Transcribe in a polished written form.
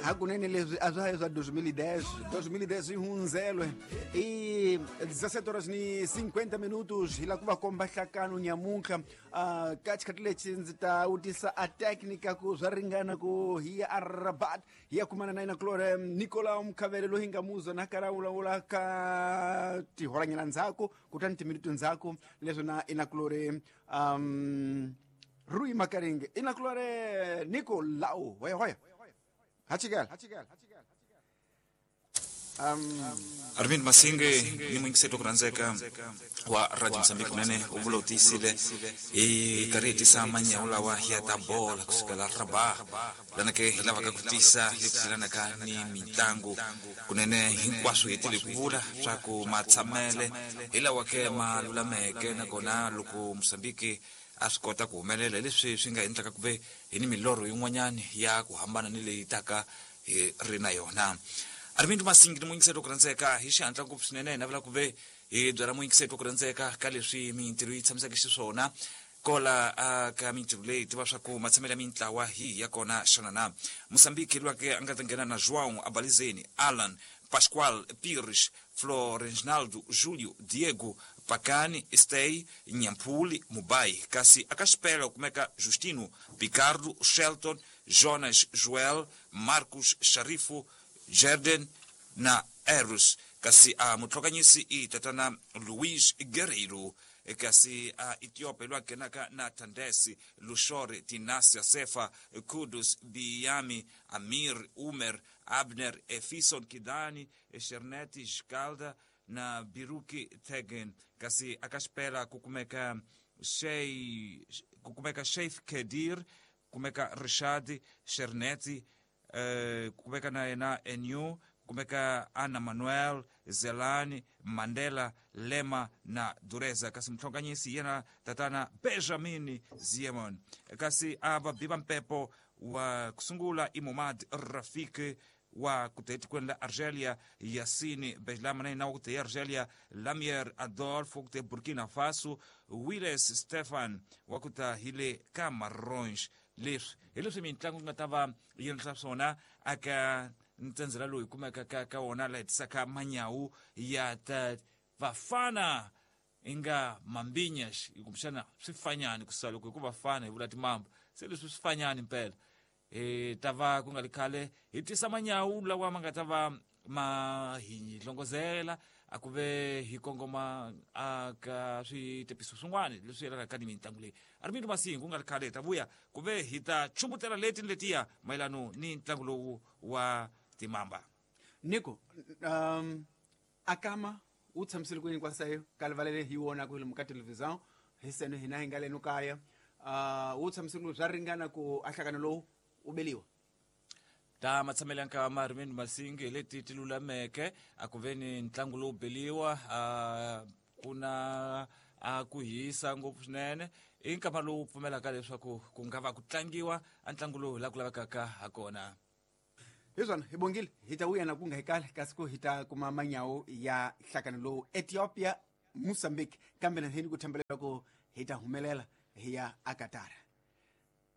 Hakunene leswi a swa ha swa 2010, 2010 yi hundzele i 17 horas ni 50 minutos. Hi la ku va komba hlakano nyamuntlha. Ka xikhathi lexi ndzi ta vutisa a technica ku swa ringana ku hi ya a Rabat, hi ya kumana na yena kulore Nicolau Mkhavele, loyi hi nga muzwa na karhi a vulavula ka tihoranyana ndzhaku, kutani timinutu ndzhaku leswi na inakulore Rui Makaringe. Inakulore Nicolau, hoya hoya hachikela. Arvind Masinge ni muyingiseri ku rhandzeka wa Radio Mozambique, kunene u vula u tiyisile, hi karhi hi tisa manyawu lawa ya ta bola kusukela Rabat, lana ke hi lavaka ku tisa leswi yelanaka ni mitlangu. Kunene hinkwaswo hi tile ku vula swa ku matshamele hi lawa ke ma lulameke, nakona loko Mozambique a swi kota ku humelela hi leswi swi nga endlaka ku ve hi ni milorho yin'wanyani ya ku hambana ni leyi taka hi ri na yona. Armind Masingi ni muyingiseri wa ku rhandzeka, hi xihatla ngopfu swinene hi navela ku ve hi byela muyingiseri wa ku rhandzeka ka leswi mintirho yi tshamiseke xiswona kola a ka mintirho leyi tiva swa ku matshamelo ya mintlawa hi ya kona xana na Mozambique lwake a nga ta nghena na João Abalizeni, Alan Pascoal Pires, Florenginaldo Julio, Diego Pakani, Stey Nyampuli Mubai, kasi aka xipela ku kumeka Justino Picardo, Shelton Jonas, Joel Marcos, Sharifu Jerden na Eros, kasi a mutlhokanyisi i tatana Luis Guerreiro, kasi a Ethiopia lwa nghenaka na Tandesi Lushore, Tinasia Sefa, Kudus Biyami, Amir Umer, Abner Efison Kidani, Sherneti Jkalda na Biruki Tegen, kasi aka xipela ku kumeka Shey ku kumeka Sheikh Kedir, kumeka Rishad Sherneti, kumeka na yena Enu, kumeka Ana Manuel Zelani, Mandela Lema na Dureza, kasi mutlhonganyisi yena tatana Benjamin Ziemon, kasi a va biva mpepo wa kusungula i Momad Rafik wa ku ta etikweni la Argelia, Yasini Bejlama na yena wa ku ta Argelia, Lamier Adolf wa ku ta Burkina Faso, Willes Stefan wa ku ta hi le Camarões. Leswi hi leswi mitlangu yi nga ta va yi endla swona aka ntsendzela lowu hi kumeka ka wona la hetisaka manyawu ya ta vafana inga mambinyax, kumbexana swifanyani kusuka loko hi ku vafana hi vula timamba, se leswi swifanyani mpela. Hi ta va ku nga li khale hi tisa manyawu lawa ma nga ta va ma hi hlongozela a ku ve hi kongoma a ka switepiso swin'wana leswi yelanaka ni mitlangu leyi. Armindo Masingu, ku nga ri khale hi ta vuya ku ve hi ta chumbutela leti ni letiya mayelano ni ntlangu lowu wa timamba. Nico, akama wu tshamisile ku yini kwasayo ka livalele hi wona ku lomu ka televisão hi seno hina hi nga leno kaya, wu tshamisile ku swa ringana ku a hlangano lowu wu beliwa? Ta matshamelo ya nkama, Armindo Masingi, hi leti ti lulameke a ku ve ni ntlangu lowu beliwa. A ku na a ku hisa ngopfu swinene, i nkama lowu pfumelaka leswaku ku nga va ku tlangiwa a ntlangu lowu hi laha ku lavekaka ha kona. Hi swona, hi bongile, hi ta vuya na ku nga hi kale, kasi ku hi ta kuma manyawu ya hlakano lowu Ethiopia Mozambique, kambe na hini ku thembelela ku hi ta humelela hi ya akatara.